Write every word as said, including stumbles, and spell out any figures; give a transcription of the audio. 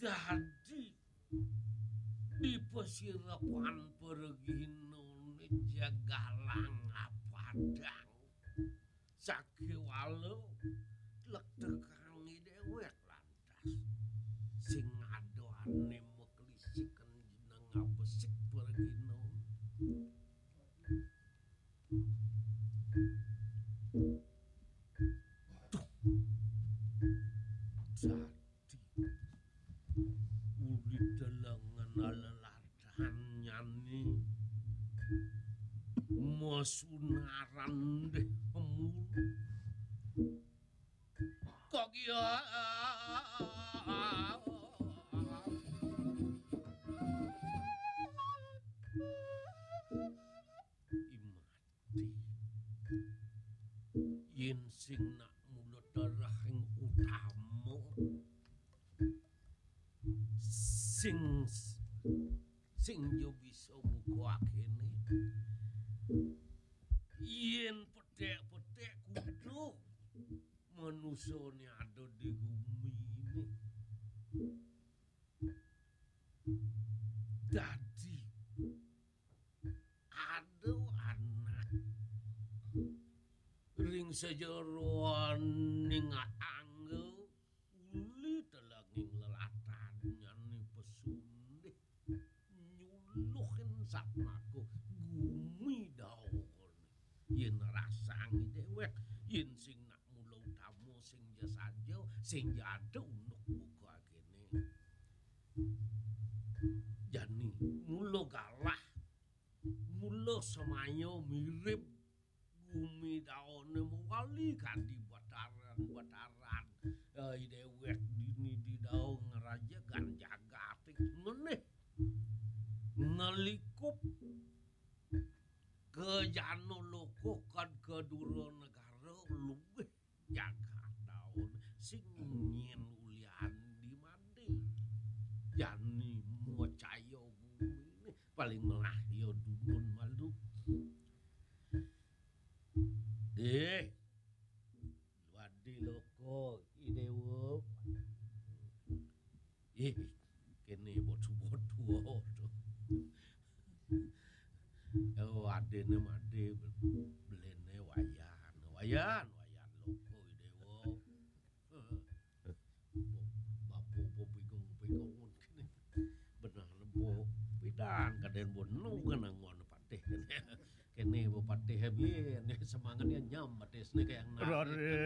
Dadi di pasirepan perginané jagalang apadang. Sakéwala lektekang déwék lantas. Sing ada ané maklisiken jeneng abesik perginané. Duh. Dadi uli delengen leladannyane masunaran deh mulu. Kok iya? Imati. Yen sing nak mula darahing utama, sing, sing yo bisa buka akene. Yen petek-petek kudu manusane ada di gumine. Dadi ada anak ring sajeroning angga uli telenging lelatannyane pesundih nyuluhin satmaka gumi dawane. Yen rasang dewek, yen sing nak mula utama sing ja saja, sing ja ada unduk buka kene. Jani mula galah, mula semaya mirip gumi dawane mewali kadi bataran-bataran. Eh, dewek dini di dao ngeraja gan jagating meneh ngelikup ke jano loko kad ke dura negara luwih jagat daun sing nyen ulian di mandi. Jani mocaya gumine paling melah ya dumun malu. Deh, luadi loko idewo. Ih, kene botu-botu to. Oh, adene made belene wayan, wayan, wayan loko idewo. Bapu po pigong-pigong kene. Benar po pidan kaden bonu kena ngon patih kene. Kene bo patih bien semangatnya nyam patih sene kayak nak.